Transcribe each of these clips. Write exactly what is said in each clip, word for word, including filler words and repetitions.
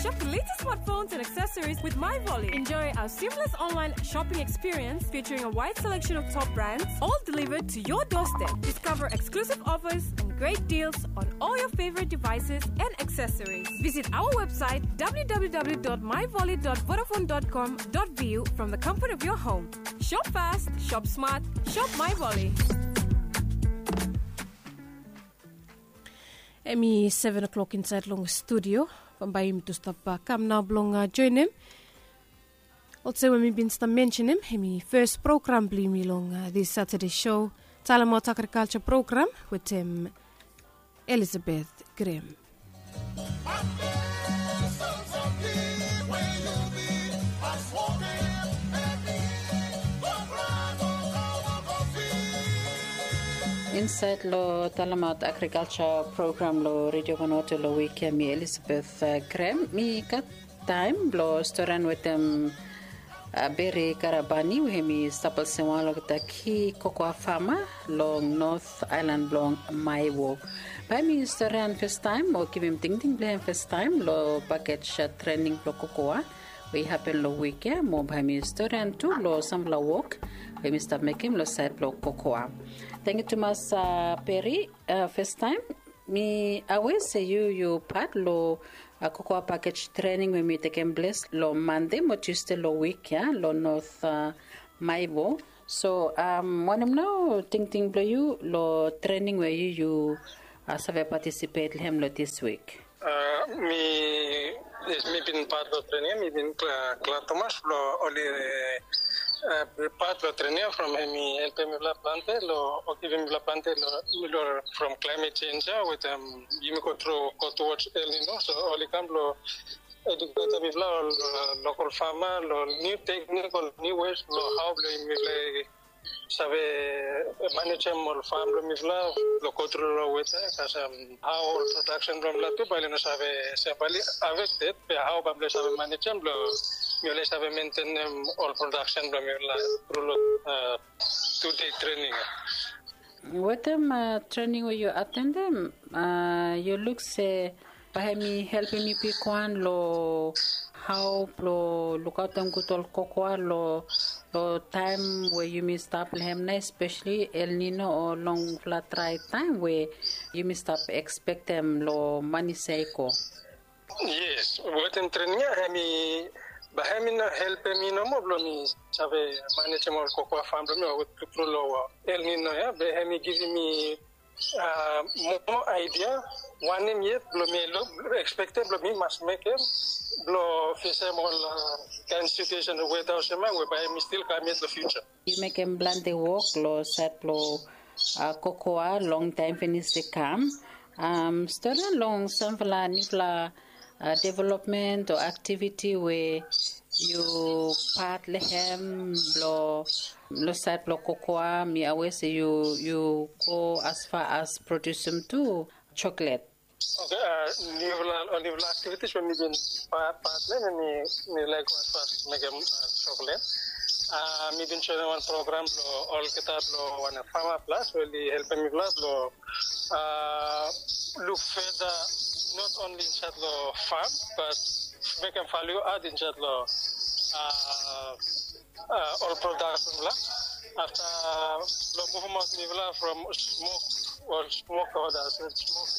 Shop the latest smartphones and accessories with MyVolley. Enjoy our seamless online shopping experience featuring a wide selection of top brands, all delivered to your doorstep. Discover exclusive offers and great deals on all your favorite devices and accessories. Visit our website, w w w dot my volley dot vodafone dot com dot v u, from the comfort of your home. Shop fast, shop smart, shop MyVolley. Hemi seven o'clock insaed long studio. Bambae yumi tu stap kam nao blong joenem. Olsem we mi bin stap mensenem, hemi fes program blong yumi long this Saturday show, Talemaot Agrikalja program wetem Elizabeth Grem. Insaed long Talemaot Agrikalja program long Redio Vanuatu long wik ya, mi Elizabeth Grem. Mi gat taem blong storian wetem Beri Karabani, we hemi stap olsem wan long olgeta ki kokoa fama long North Aelan blong Maewo. Bae hemi storian fastaem o givim tingting blong hem fastaem long pakej trening blong kokoa we i hapen long wik ya, mo bae hemi storian tu long samfala wok we hemi stap mekem long saed blong kokoa. Tangkiu tumas, Beri. Fastaem, mi aware se yu yu pat long kokoa pakej trening we hemi tekem ples long Mande mo Tiusde long wik ya long North Maewo. So wanem nao tingting blong yu long trening we yu yu save patisipet long hem long dis wik? Mi, yes, mi bin pat long trening ya, mi bin glad tumas blong oli pat long trening ya from hemi helpem mifala plante long, o givim mifala plante long from climate change ya wetem yumi go tru, go towards El Nino. So oli kam blong eduketem mifala ol lokal fama long niu teknik, ol niu ways blong hao blong mifala save manejem ol fam blong mifala blong go tru long weta, kasem hao ol prodaksen blong mifala tu bae oli no save, se bae oli afekted, be hao bae mifala save manejem blong mifala save mentenem ol prodaksen blong mifala tru long tu dei trening ya. Wetem trening we yu atendem, yu luk se bae hemi helpem yu bigwan long hao blong lukaotem gud ol kokoa long taem we yumi stap long hem nao, espeseli El Nino o longfala drae taem we yumi stap ekspektem long manis ya i go? Yes, wetem trening ya hemi, bae hemi no helpem mi nomo blong mi save manejem ol kokoa fam blong mi o go tru long El Nino ya, be hemi givim mi moa aedia wanem yet blong mi ekspektem blong mi mas mekem blong fesem ol kaen situesen weta olsem ya we bae hemi stil kam yet long fiuja. Yu mekem plante wok long saed blong kokoa longtaem finis i kam. Storian long samfala niufala developmen o aktiviti we yu pat long hem long saed blong kokoa. Mi aware se yu go asfa as produsem tu joklet. Oke, niufala, niufala aktivitis we mi bin pat long hem, mi laek go asfa as mekem joklet. Mi bin joenem wan program blong olgeta blong wan Farmer Plus we oli helpem mifala blong luk feda, not only insaed long fam, bat mekem value add insaed long ol prodaks blong mifala. Afta blong muvumaot mifala from smok, ol smok hot, smok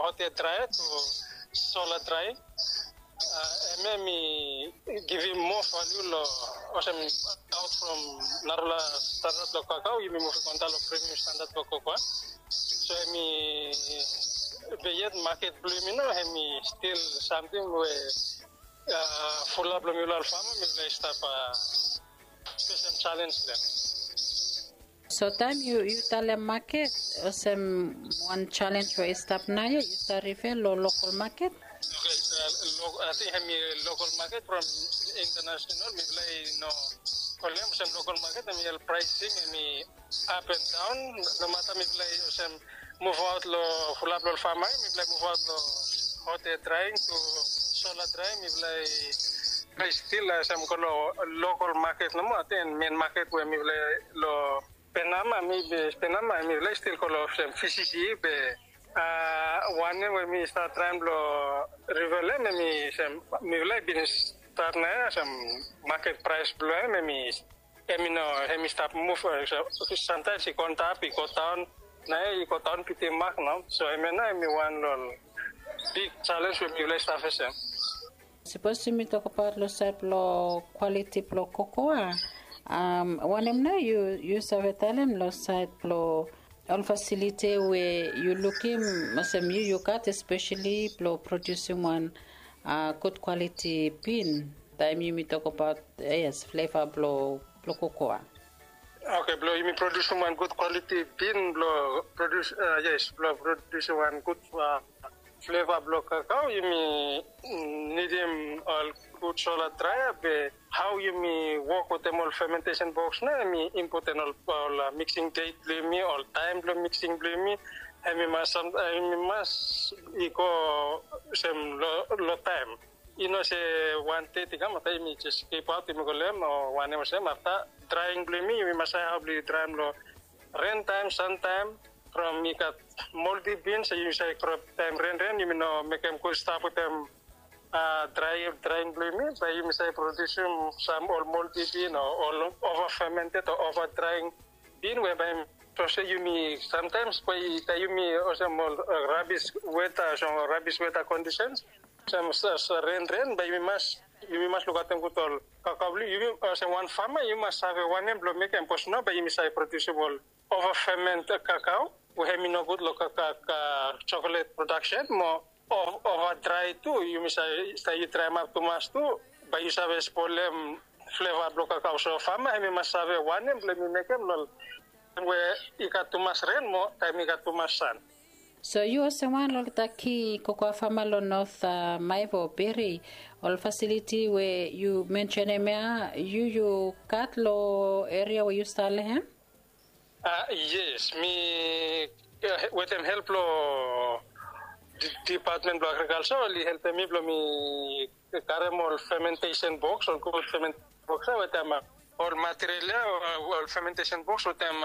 hot aer drae tu sola drae. Hemia hemi givim moa value long olsem aot from narafala standad blong kakao, yumi muvim antap long premium standad blong kokoa. So hemi, be yet maket blong yumi nao hemi stil samting we fulap long mifala ol fama mifala i stap fesem jalenj long hem. So taem yu, yu talem maket, olsem wan jalenj we i stap naoia, yu stap refer long lokal maket? Oke, ating hemi lokal maket from international, mifala i no kolem olsem lokal maket, hemi ol praesing hemi ap and daon, nomata mifala i olsem muvaot long fulap long ol fama, mifala i muvaot long hot aer draing tu sola draing, mifala i, mifala i stil olsem go long lokal maket nomo, ating men maket we mifala i long Penama, mi be Penama, mifala i stil go long olsem V C C be Wanem we mi stap traem blong rivel hem, hem i sem mifala i bin stat na ya sem maket praes blong hem, hem i hem i no hem i stap muv. Samtaems i go antap, i go daon, na ya i go daon piti mak no. So hem ya na hem i wan long big salens we mifala i stap fesem. Sapos yumi tokbaot long saed blong kwaliti blong kokoa, wanem nao yu save talem long saed blong ol fasiliti we yu lukim olsem yu yu gat espeseli blong prodiusim wan gud kwaliti bin? Taem yumi tokbaot yes fleva blong blong kokoa. Oke, blong yumi prodiusim wan gud kwaliti bin blong prodius yes blong prodiusim wan gud fleva blong kakao, yumi nidim ol gud sola draea be hao yumi wok wetem ol fementesen boks na hem i impoten ol miksing det blong yumi, ol taem blong miksing blong yumi. Hem i mas hem i mas i go sem long taem. I no se wan det i kam afta yumi jes kipaot yumi go long hem o wanem olsem afta draing blong yumi yumi mas save hao blong yu draem long ren taem, san taem. From i gat moldi bin se yu save krop taem renren yumi no mekem gud stap wetem draing blong yumi bae yumi save prodiusim sam ol moldi bin o ol ova femented o ova draing bin we bae so se yumi samtaems bae i taem yumi olsem ol rabis weta olsem rabis weta kondisens olsem renren bae yumi mas yumi mas lukaotem gud ol kakao blong yumi olsem wan fama yumi mas save wanem blong mekem bikos no bae yumi save prodiusim ol ova femented kakao we hem i nogud long kakao jokolet prodaksen mo ova drae tu yumi save yu draemap tumas tu bae yu save spolem fleva blong kakao. So fama hem i mas save wanem blong hem i mekem long taem we i gat tumas ren mo taem i gat tumas san. So yu olsem wan long olgeta ki kokoa fama long not maevo beri ol fasiliti we yu mensenem ya yu yu gat long eria we yu stap long hem? Yes, mi wetem help long dipatmen blong agrikalsa oli helpem mi blong mi karem ol fementesen boks ol gud fementesen boks ya wetem ol material ya ol fementesen boks wetem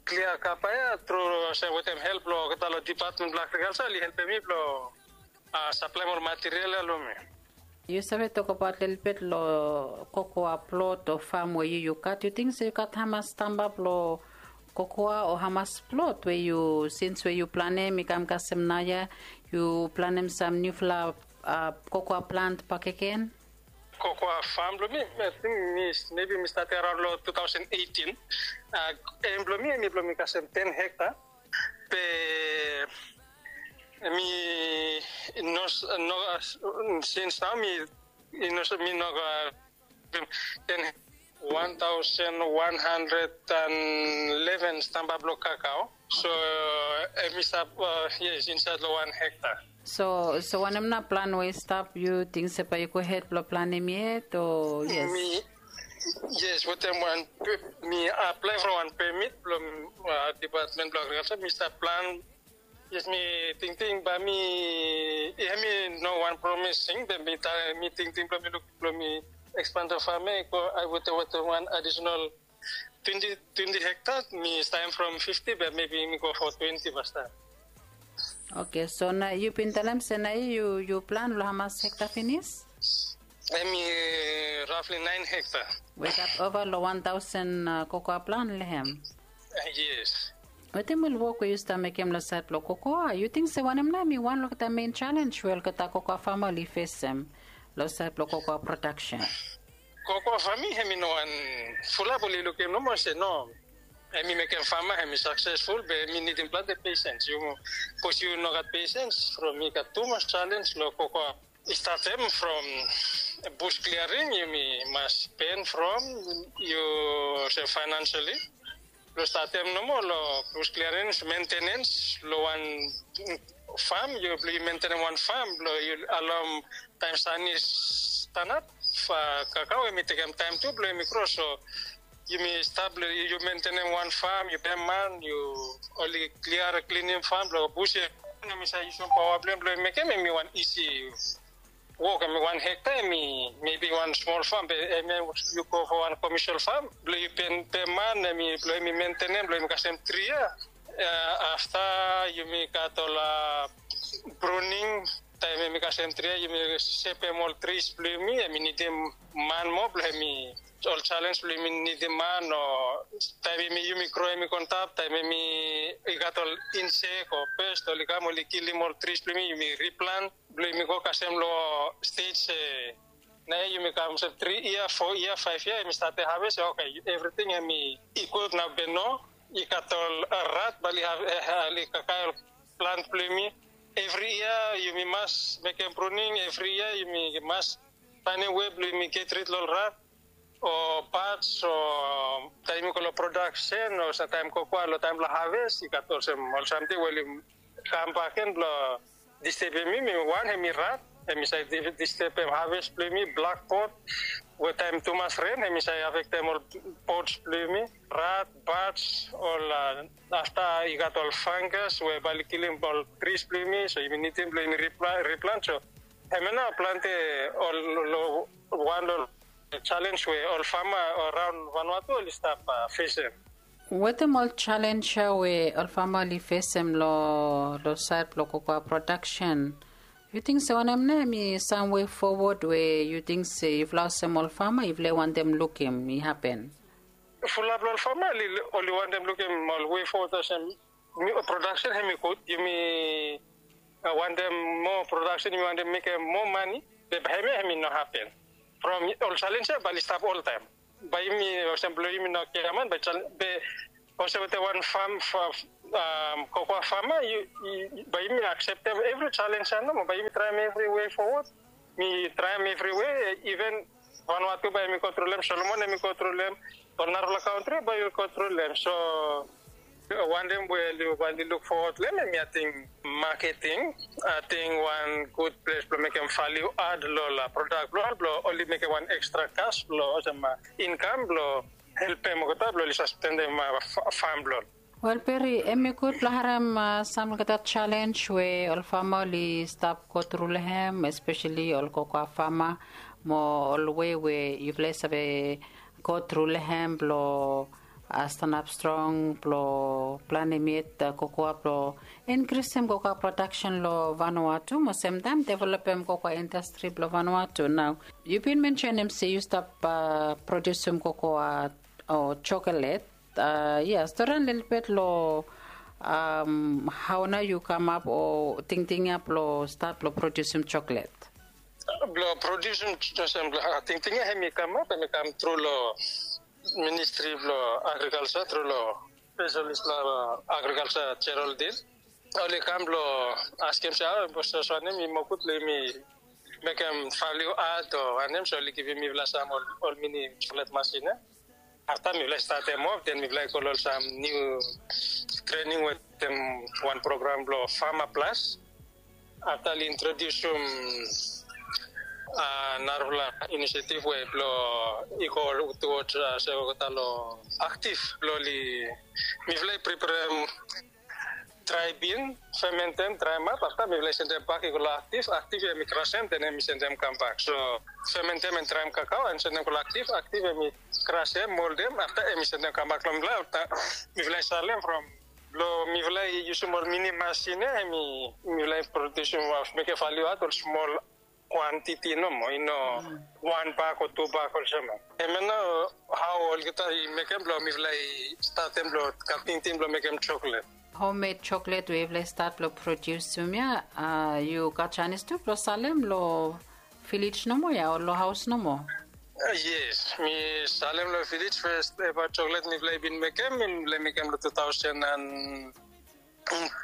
klia kapa ya tru olsem wetem help blong olgeta long dipatmen blong agrikalsa oli helpem mi blong saplaem ol material ya long mi. Yu save tokbaot lelebet long kokoa plot o fam we yu yu gat yu ting se yu gat hamas stamba blong kokoa o hamas plot we yu sins we yu planem i kam kasem naoia yu planem sam niufala kokoa plant bakegen? Kokoa fam blong mi mebi mi statem araon long tu taosen eitin. Em blong mi em i blong mi kasem ten hekta. Be mi no no sins nao mi i no mi no ten wan taosen wan handred an leven stamba blong kakao. So em i stap yes insaed long wan hekta. So so wanem na plan we i stap yu ting se bae yu go hed blong planem yet o yes? Yes wetem wan mi aplae from wan pemit blong dipatmen blong agrikalsa mi stap plan. Yes mi tingting bae mi i hem i no wan promising be mi tingting blong mi luk blong mi ekspan to fam ya i go ai wetem wetem wan adisenal twenti twenti hekta mi staem from fifti be mebi mi go fo twenti pastaem. Oke so na yu bin talem se na yu yu plan long hamas hekta finis? Em i rafli naen hekta. We i gat ova long wan taosen kokoa plan long hem? Yes. Wetem ol wok we yu stap mekem long saed blong kokoa yu ting se wanem nao em i wan long olgeta mein salens we olgeta kokoa fama oli fesem long saed blong kokoa prodaksen? Kokoa fami hem i no wan fulap oli lukim nomo se no. Hem i mekem fama hem i saksesful be hem i nidim plante pesens yu bikos yu no gat pesens from i gat tumas salens long kokoa. I statem from bus kliaring yumi mas pen from yu se fainansali blong statem nomo long bus kliaring mentenens long wan fam yu blong yu mentenem wan fam blong yu alaom taem san i stanap kakao hem i tekem taem tu blong hem i kros so yumi stap blong yu mentenem wan fam yu pem man yu oli klia klinim fam blong bus ya. Hem i save yusum paoa blong hem blong hem mekem hem i wan isi wok hem i wan hekta hem i mebi wan smol fam be hem ya yu go fo wan komisil fam blong yu pem man hem i blong hem i mentenem blong hem i kasem tri ya. Afta yumi gat ol pruning, taem hemi kasem tri ya yumi sepem ol tris blong yumi, hemi nidim man moa blong hemi, ol jalens blong yumi nidim man o taem hemi yumi gro hemi go antap, taem hemi i gat ol insek o pest oli kam oli kilim ol tris blong yumi, yumi riplan blong yumi go kasem long stej se naoia yumi kam olsem tri yia, fo yia, faef yia hemi stat haves, oke, evriting hemi i gud nao be no i gat ol rat bae oli kakae ol plant blong yumi. Evri yia yumi mas mekem pruning, evri yia yumi mas faenem we blong yumi get rid long ol rat o bats o taem yumi go long prodaksen o samtaem kokoa long taem blong haves i gat olsem ol samting we oli kambak gen blong distebem yumi. Wan hemi rat, hemi save distebem haves blong yumi, blakbot we taem tumas ren hemi save afektem ol bots blong yumi, rat, bats, ol afta i gat ol fangas we bae oli kilim ol tris blong yumi, so yumi nidim blong yumi riplan. So hemia nao plante ol wan long ol jalens we ol fama araon Vanuatu oli stap fesem. Wetem ol jalens ya we ol fama oli fesem long saed blong kokoa prodaksen, yu ting se wanem nao hemi sam we fowod we yu ting se yufala olsem ol fama yufala i wantem lukim i hapen? Fulap long ol fama oli wantem lukim ol we fowod olsem prodaksen hemi gud, yumi wantem moa prodaksen, yumi wantem mekem moa mane, be bae hemia hemi no hapen. From ol jalens ya bae oli stap oltaem. Bae yumi olsem blong yumi no giaman bae jalens be olsem wetem wan fam, kokoa fama, bae yumi akseptem evri jalens ya nomo, bae yumi traem evri we fowod. Mi traem evriwe, iven Vanuatu bae yumi go tru long hem, Solomon hemi go tru long hem, ol narafala kantri bae yumi go tru long hem. So wantem we oli wantem luk fowod long hem hemi ating maketing, ating wan gud ples blong mekem valiu ad long ol prodak blong ol, blong oli mekem wan ekstra kas blong olsem inkam blong helpem olgeta blong oli sastenem fam blong ol. Wel, Peri, hemi gud blong harem sam olgeta jalens we ol fama oli stap go tru long hem, espeseli ol kokoa fama, mo ol we we yufala i save go tru long hem blong stanap strong blong planem yet kokoa blong inkrisem kokoa prodaksen long Vanuatu mo semtaem developem kokoa indastri blong Vanuatu. Nao yu bin mensenem se yu stap prodiusum kokoa o jokelet. Ya, storian lelebet long hao nao yu kamap o tingting ya blong stat blong prodiusim jokelet. Blong prodiusim, olsem blong tingting ya hemi kamap, hemi kam tru long ministri blong agrikalsa, tru long spesalis blong agrikalsa, Geraldine. Oli kam blong askem se hao, bos, wanem i moa gud blong yumi mekem valiu ad o wanem, so oli givim mifala sam ol mini jokelet masin ya. Afta mifala i statem of, den mifala i go long sam niu trening wetem wan program blong Farmer Plus. Afta oli introdiusim narafala inisiativ we blong i go tuwoj se olgeta long aktif blong oli, mifala i preperem drae bin, fementem, draem ap, afta mifala i sendem bak i go long aktif, aktif hemi krasem, den hemi sendem kambak. So fementem and draem kakao and sendem go long aktif, aktif hemi krasem, moldem, afta hemi sendem kambak long mifala, afta mifala i salem from long mifala i yusum ol mini masin ya, hemi mifala i prodiusim, mekem valiu aot ol smol kwantiti nomo, i no wan bak o tu bak olsem. Hemia nao hao olgeta i mekem blong mifala i statem blong gat tingting blong mekem joklet. Hommed joklet we yufala i stat blong prodiusim ya, yu gat janis tu blong salem long vilej nomo ya o long haos nomo? Yes, mi salem long vilej. Fes eva joklet mifala i bin mekem, mifala i mekem long tu taosen and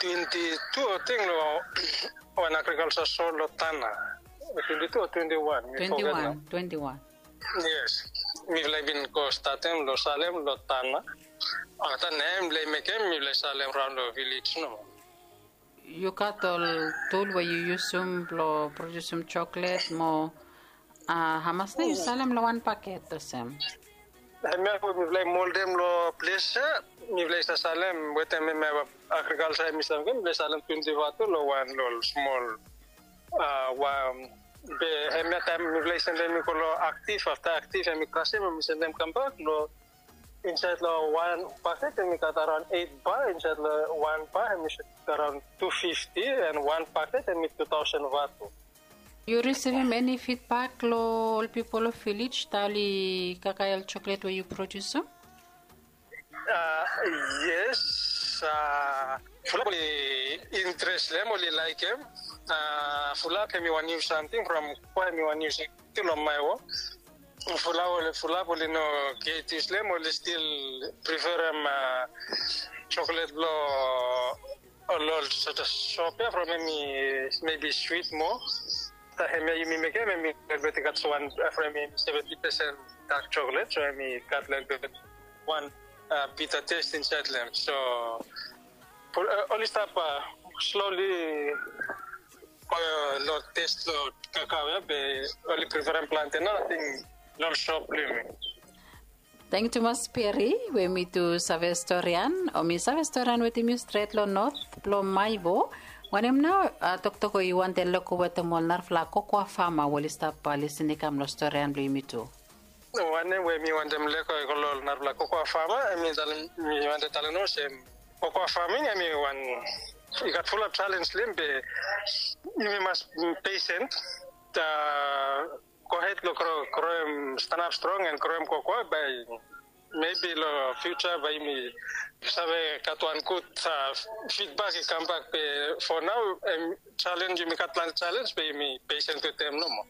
twenti tu ating long wan agrikalsa sol long Tanna. Twenti tu o twenti wan, mi foget nao. Twenti wan. Yes, mifala i bin go statem long salem long Tanna. Afta nao mifala i mekem, mifala i salem raon long vilej nomo. Yu gat ol tul we yu yusum blong prodiusim joklet mo hamas nao yu salem long wan baket olsem? Hemia we mifala i moldem long ples ya, mifala i save salem wetem hemia agrikalsa hemi salem, mifala i salem twenti vatu long wan long ol smol wan. Be hemia taem mifala i sendem i go long aktif, afta aktif hemi krasem, hemi sendem kambak long Insaed long wan paket em i gat araon eit ba, insaed long wan ba em i gat araon tu fifti, and wan paket em i tu taosen vatu. Yu risivim eni fidbak long ol pipol long vilej, ta oli kakae ol choklet we yu produsim? Yes. Fulap oli interes long hem, oli laekem. Fulap hem i wan niu samting from kokoa, hem i wan niu samting long maevo. Fulap oli no get yus long hem, oli stil preferem choklet blong ol ol sota sop ya from hem i mebi swit moa. Taem ya yumi mekem hem i lelebet i gat wan from hem i seventi pesen dak choklet, so hem i gat lelebet wan bita test insaed long hem. So oli stap sloli go long test long kakao ya, be oli preferem plante nao ating long sop blong yumi. Tangkiu tumas Peri we mi tu save storian o mi save storian wetem yu stret long not blong Maivo. Wanem nao toktok we yu wantem leko wetem ol narafala kokoa fama we oli stap lisin i kam long storian blong yumi tu? Wanem we mi wantem leko i go long ol narafala kokoa fama, em mi wantem talem olsem, kokoa faming em i wan, i gat fulap jalenj long hem, be yumi mas pesen. Gohed long groem, stanap strong and groem kokoa, bae mebi long fiuja bae yumi save gat wan gud fidbak i kambak. Be fo nao em jalenj, yumi gat plante jalenj, be yumi pesen wetem nomo.